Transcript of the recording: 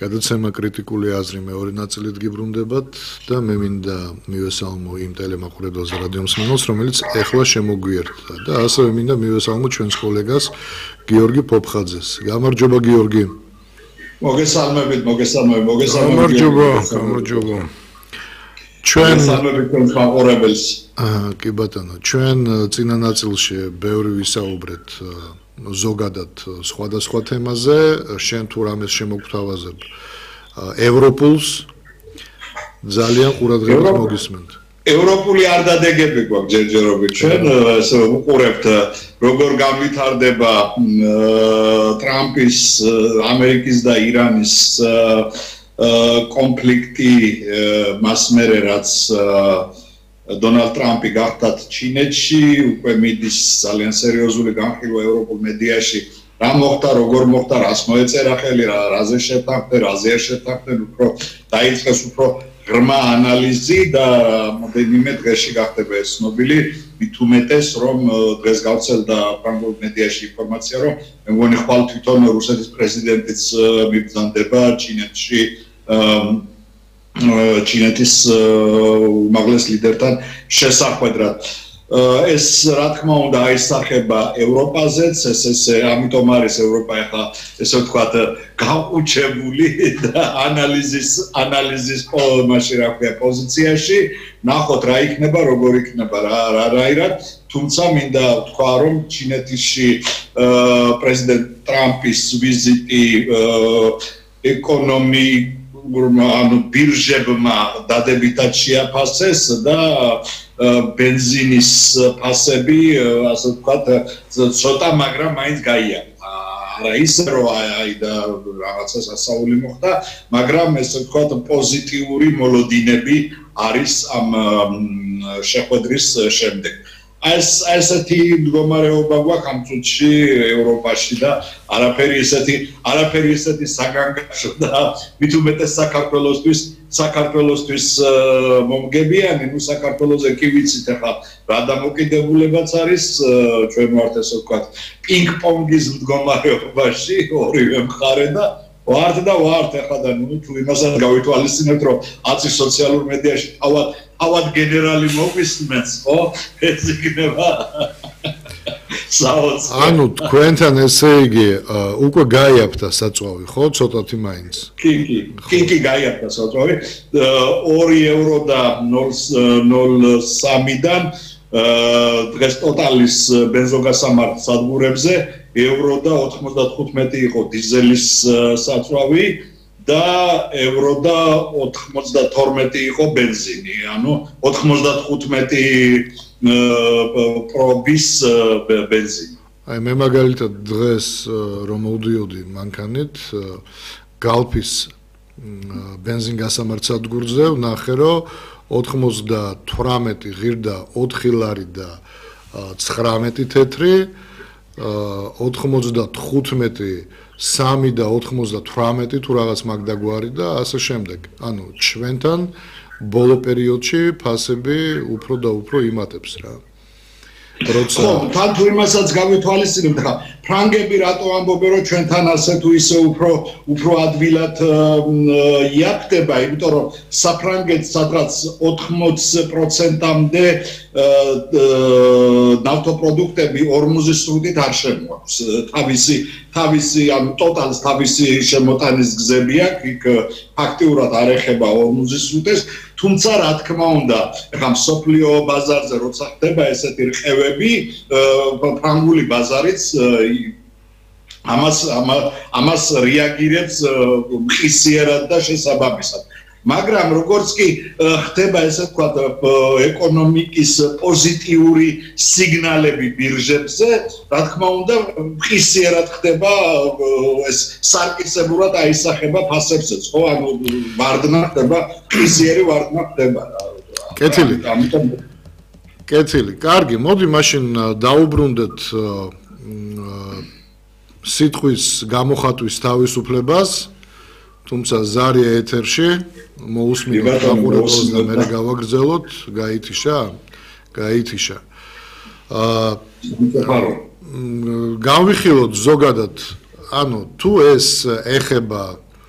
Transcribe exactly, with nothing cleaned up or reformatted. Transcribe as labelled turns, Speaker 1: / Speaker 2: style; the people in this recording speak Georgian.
Speaker 1: გადაცემა კრიტიკული აზრი მეორე ნაწილით გიბრუნდებათ და მე მინდა მივესალმო იმ ტელემაყურებელს რადიო მსმენელს, რომელიც ეხლა შემოგვიერთდა და ასევე მინდა მივესალმო ჩვენს კოლეგას გიორგი ფოფხაძეს. გამარჯობა გიორგი.
Speaker 2: მოგესალმებით, მოგესალმებით, მოგესალმებით.
Speaker 1: გამარჯობა, გამარჯობა. ჩვენ
Speaker 2: მოგესალმებით ჩვენს მაყურებელს.
Speaker 1: აა, კი ბატონო, ჩვენ წინა ნაწილში ბევრი ვისაუბრეთ ზოგადად სხვადასხვა თემაზე, შენ თუ რამეს შემოგთავაზებ ევროპულს ძალიან ყურადღებით მოგისმენთ.
Speaker 2: ევროპული არ დადეგები გვაქვს ჯერჯერობით ჩვენ უყურებთ როგორ განვითარდება ტრამპის, ამერიკის და ირანის კონფლიქტი მას მერე რაც დონალდ ტრამპი გახდათ ჩინეთში, უკვე მიდის ძალიან სერიოზული განხილვა ევროპულ მედიაში, რა მოხდა, როგორ მოხდა, რას მოეწერა ხელი, რაზე შეთანხმდნენ, რაზე არ შეთანხმდნენ, უფრო დაიწყეს უფრო ღრმა ანალიზი და მომდევნო დღეში გახდება ეს ცნობილი, მით უმეტეს რომ დღეს გავრცელდა ფრანგულ მედიაში ინფორმაცია, რომ მე მგონი ხვალ თვითონ რუსეთის პრეზიდენტიც მიბრძანდება ჩინეთში ჩინეთის უმაღლეს ლიდერთან შესახვედრად. ეს რა თქმა უნდა აისახება ევროპაზეც, ეს ესე ამიტომ არის ევროპა ახლა ესე ვთქვათ გაუჩებული და ანალიზის ანალიზის მაშინ რა ქვია პოზიციაში, ნახოთ რა იქნება, როგორ იქნება რა რაირად, თუმცა მინდა ვთქვა რომ ჩინეთში პრეზიდენტ ტრამპის ვიზიტი ეკონომიკ ანუ ბირჟებმა დადებითად შეაფასეს და ბენზინის ფასები, ასე ვთქვათ, ცოტა, მაგრამ მაინც გაიარა. არა ისე რომ აი და რაღაცა სასაული მოხდა, მაგრამ ესე ვთქვათ პოზიტიური მოლოდინები არის ამ შეხვედრის შემდეგ. ეს ესეთი მდგომარეობა გვაქვს ამ წუთში ევროპაში და არაფერი ესეთი არაფერი ესეთი საგანგაშო და მით უმეტეს საქართველოსთვის საქართველოსთვის მომგებიანი, ნუ საქართველოზე კი ვიცით ახლა რა დამოკიდებულებაც არის, ჩვენ ვართ ესე ვთქვათ პინგ-პონგის მდგომარეობაში, ორივე მხარე და ვართ და ვართ ახლა და ნუ თუ იმასაც გავითვალისწინებთ, რომ აცი სოციალურ მედიაში თავად თავად გენერალი მოგვისმენს, ხო? ეს იქნება საოცრ.
Speaker 1: ანუ თქვენთან ესე იგი უკვე გაიაფთა საწვავი, ხო? ცოტათი მაინც.
Speaker 2: კი, კი, კი, კი გაიაფთა საწვავი. ორი ევრო და ნულ სამიდან დღეს ტოტალის ბენზოგასამართ სადგურებზე ევრო და ოთხმოცდათხუთმეტი იყო დიზელის საწვავი და ევრო და ოთხმოცდათორმეტი იყო ბენზინი, ანუ ოთხმოცდათხუთმეტი პრობის ბენზინი.
Speaker 1: აი მე მაგალითად დღეს რომ მოვდიოდი მანქანით გალფის ბენზინგასამართ სადგურზე, ვნახე რომ ოთხმოცდათვრამეტი ღირდა ოთხი ლარი და ცხრამეტი თეთრი, ოთხმოცდათხუთმეტი სამი და ოთხმოცდათვრამეტი თუ რაღაც მაგდაგვარი და ასე შემდეგ. ანუ ჩვენთან ბოლო პერიოდში ფასები უფრო და უფრო იმატებს რა.
Speaker 2: როცა ხო, თან თუ იმასაც გავითვალისწინებთ, ხა ფრანგები რატო ამბობენ რომ ჩვენთან ასე თუ ისე უფრო უფრო ადვილად იაფდება, იმიტომ რომ საფრანგეთს სადღაც ოთხმოც პროცენტამდე ნავთობპროდუქტები ორმოცი სრუტით არ შემოაქვს. თავისი თავისი ან ტოტალს თავისი შემოტანის გზები აქვს, იქ ფაქტიურად არ ეხება ორმოცი სრუტეს, თუმცა რა თქმა უნდა, ახლა მსოფლიო ბაზარზე როცა ხდება ესეთი რყევები, ფრანგული ბაზარიც ამას ამას რეაგირებს მყისიერად და შესაბამისად. მაგრამ როგორც კი ხდება ესე ვთქვათ ეკონომიკის პოზიტიური სიგნალები ბირჟებზე, რა თქმა უნდა, მყისიერად ხდება ეს სარკისებურად აისახება ფასებზეც, ხო? ანუ ვარდნა ხდება, მყისიერი ვარდნა ხდება.
Speaker 1: კეთილი. კეთილი. კარგი, მოდი მაშინ დაუბრუნდეთ სიტყვის გამოხატვის თავისუფლებას, თუმცა ზარია ეთერში მოусმინოთ აყურებელს და მე გავაგრძელოთ, გაითიშა, გაითიშა. აა გავიხილოთ ზოგადად, ანუ თუ ეს ეხება